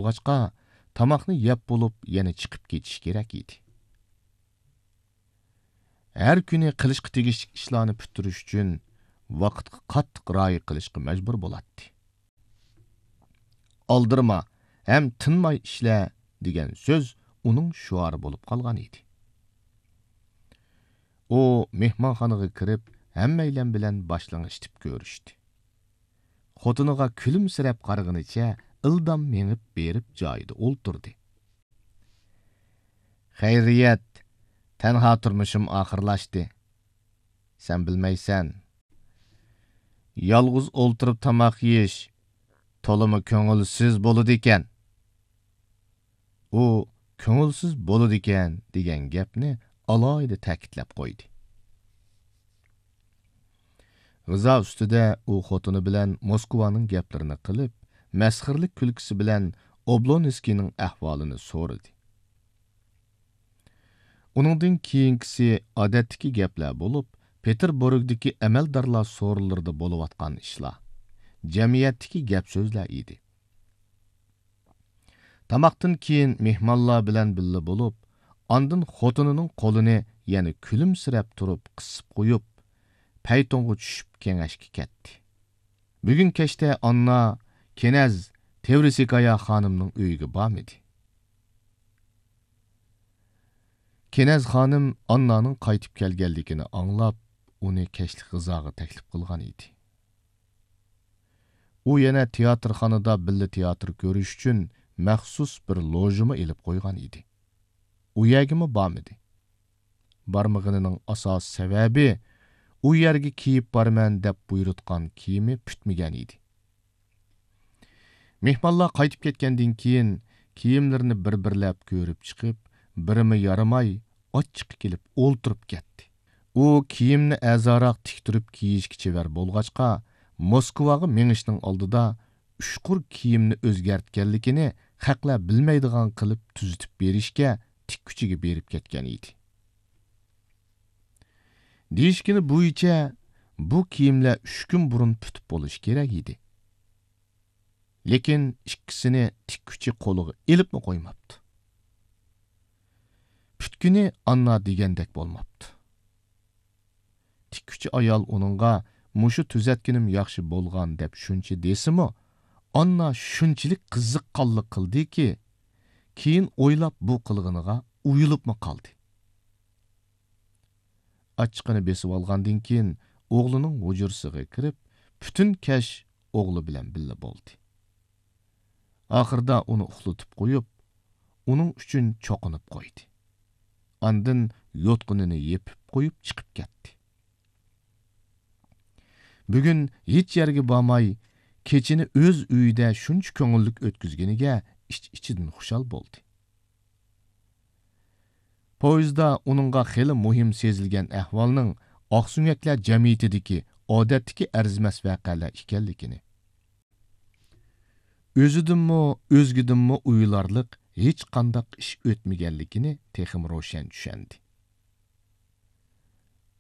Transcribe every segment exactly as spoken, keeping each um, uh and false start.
بولغاچقا، تاماقنى يەپ بولۇپ يەنە چىقىپ كېتىش كېرەك ئىدى. ھەر كۈنى قىلىشقا تېگىشلىك ئىشلارنى پۈتتۈرۈش ئۈچۈن ۋاقىتقا قاتتىق رىئايە قىلىشقا مەجبۇر بولاتتى. «ئالدىرىما ھەم تىنماي ئىشلە» دېگەن سۆز ئۇنىڭ شوئارى بولۇپ قالغان ئىدى. ئۇ مېھمانخانىغا كىرىپ، ھەممەيلەن بىلەن باشلىڭىشتىپ كۆرۈشتى. خوتۇنىغا كۈلۈمسىرەپ قارىغىنىچە ئىلدام مېڭىپ بېرىپ جايىدا ئولتۇردى. «خەيرىيەت، تەنھا تۇرمۇشۇم ئاخىرلاشتى. سەن بىلمەيسەن. يالغۇز ئولتۇرۇپ تاماق يېيىش تولىمۇ كۆڭۈلسىز بولىدىكەن.» ئۇ «كۆڭۈلسىز بولىدىكەن» دېگەن گەپنى ئالاھىدە تەكىتلەپ قويدى. غىزا ئۈستىدە ئۇ خوتۇنى بىلەن موسكۋانىڭ گەپلىرىنى قىلىپ، مەسخىرىلىك كۈلكىسى بىلەن ئوبلونسكىينىڭ ئەھۋالىنى سورىدى. ئۇنىڭدىن كېيىنكىسى ئادەتتىكى گەپلەر بولۇپ، پېتېربۇرگدىكى ئەمەلدارلار سورۇنلىرىدا بولۇۋاتقان ئىشلار، جەمئىيەتتىكى گەپ-سۆزلەر ئىدى. تاماقتىن كېيىن مېھمانلار بىلەن بىللە بولۇپ، ئاندىن خوتۇنىنىڭ قولىنى يەنە كۈلۈمسىرەپ تۇرۇپ قىسىپ قويۇپ، پەيتۇنغا چۈشۈپ كېڭەشكە كەتتى. بۈگۈن كەچتە ئاننا كېنەز تېۋرىسكايا خانىمنىڭ ئۆيىگە بارمىدى. كېنەز خانىم ئاننانىڭ قايتىپ كەلگەنلىكىنى ئاڭلاپ، ئۇنى كەچلىك غىزاغا تەكلىپ قىلغان ئىدى. ئۇ يەنە تىياتىرخانىدا بىللە تىياتىر كۆرۈش ئۈچۈن مەخسۇس بىر لوژىمۇ ئېلىپ قويغان ئىدى. ئۇ يەرگىمۇ بارمىدى. بارمىغىنىنىڭ ئاساسىي سەۋەبى، ئۇ يەرگە كىيىپ بارىمەن دەپ بۇيرۇتقان كىيىمى پۈتمىگەن ئىدى. مېھمانلار قايتىپ كەتكەندىن كېيىن، كىيىملىرىنى بىر-بىرلەپ كۆرۈپ چىقىپ، بىرىمۇ يارىماي، ئاچچىقى كېلىپ ئولتۇرۇپ كەتتى. ئۇ كىيىمنى ئەرزانراق تىكتۈرۈپ كىيىشكە چېۋەر بولغاچقا، موسكۋاغا مېڭىشنىڭ ئالدىدا ئۇچقۇر كىيىمنى ئۆزگەرتكەنلىكىنى خەقلەر بىلمەيدىغان قىلىپ تۈزىتىپ بېرىشكە تىككۈچىگە بېرىپ كەتكەن ئىدى. دېيىشكىنى بويىچە، بۇ كىيىملەر ئۈچ كۈن بۇرۇن پۈتۈپ بولۇشى كېرەك ئىدى. لېكىن ئىككىسىنى تىككۈچى قولىغا ئېلىپمۇ قويماپتۇ. پۈتكىنى ئاننا دېگەندەك بولماپتۇ. تىككۈچى ئايال ئۇنىڭغا مۇشۇ تۈزەتكىنىم ياخشى بولغان دەپ شۇنچە دېسىمۇ، ئاننا شۇنچىلىك قىزىققانلىق قىلدىكى، كېيىن ئويلاپ بۇ قىلغىنىغا ئۇيىلىپمۇ قالدى. ئاچچىقىنى بېسىۋالغاندىن كېيىن، ئوغلىنىڭ ھۇجرىسىغا كىرىپ، پۈتۈن كەچ ئوغلى بىلەن بىللە بولدى. ئاخىرىدا ئۇنى ئۇخلىتىپ قويۇپ، ئۇنىڭ ئۈچۈن چوقۇنۇپ قويدى. ئاندىن يوتقىنىنى يېپىپ قويۇپ چىقىپ كەتتى. بۈگۈن ھېچ يەرگە بارماي، كېچىنى ئۆز ئۆيىدە شۇنچە كۆڭۈللۈك ئۆتكۈزگىنىگە ئىچ-ئىچىدىن خۇشال بولدى. پويىزدا ئۇنىڭغا خېلى مۇھىم سېزىلگەن ئەھۋالنىڭ ئاقسۆڭەكلەر جەمئىيىتىدىكى ئادەتتىكى ئەرزىمەس ۋەقەلەر ئىكەنلىكىنى، ئۆزىدىنمۇ، ئۆزگىدىنمۇ ئويلارلىق ھېچقانداق ئىش ئۆتمىگەنلىكىنى تېخىمۇ روشەن چۈشەندى.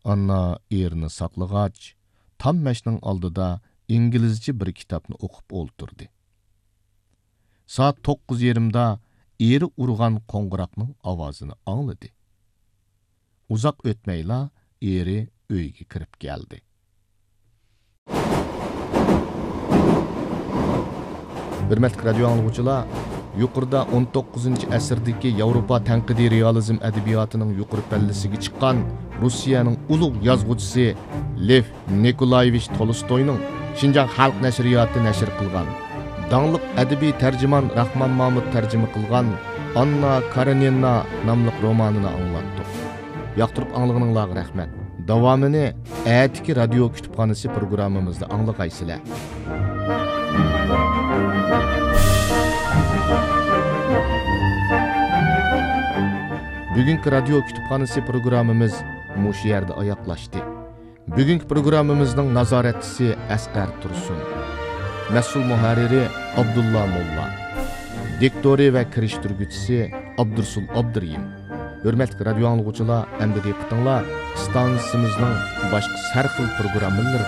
ئاننا ئېرىنى ساقلىغاچ، تام مەشنىڭ ئالدىدا ئىنگلىزچە بىر كىتابنى ئوقۇپ ئولتۇردى. سائەت توققۇز يېرىمدا ئېرى ئۇرغان قوڭغۇراقنىڭ ئاۋازىنى ئاڭلىدى. ئۇزاق ئۆتمەيلا ئېرى ئۆيگە كىرىپ كەلدى. ھۆرمەتلىك رادىيو ئاڭلىغۇچىلار، يۇقىرىدا ئون توققۇزىنچى ئەسىردىكى ياۋروپا تەنقىدىي رېئالىزم ئەدەبىياتىنىڭ يۇقىرى پەللىسىگە چىققان روسىيەنىڭ ئۇلۇغ يازغۇچىسى لېف نىكولايېۋىچ تولستوينىڭ شىنجاڭ خەلق نەشرىياتى نەشر قىلغان، داڭلىق ئەدەبىي تەرجىمان راخمان مامۇت تەرجىمە قىلغان ئاننا كارېنىنا ناملىق رومانىنى ئاڭلاتتۇق. ياقتۇرۇپ ئاڭلىغىنىڭلارغا رەھمەت. داۋامىنى ئەتىكى رادىيو كۇتۇپخانىسى پروگراممىمىزدا ئاڭلىغايسىلەر. بۈگۈنكى رادىيو كۇتۇپخانىسى پروگراممىمىز مۇشۇ يەردە ئاياغلاشتى. بۈگۈنكى پروگراممىمىزنىڭ نازارەتچىسى ئەسقەر تۇرسۇن. مەسئۇل مۇھەررىرى ئابدۇللا موللا. دىكتورى ۋە كىرىشتۈرگۈچىسى ئابدۇرسۇل ئابدۇرېھىم. ھۆرمەتلىك رادىيو ئاڭلىغۇچىلار، ئەمدى دىققىتىڭلار ئىستانسىمىزنىڭ باشقا ھەر خىل پروگراممىلىرىدا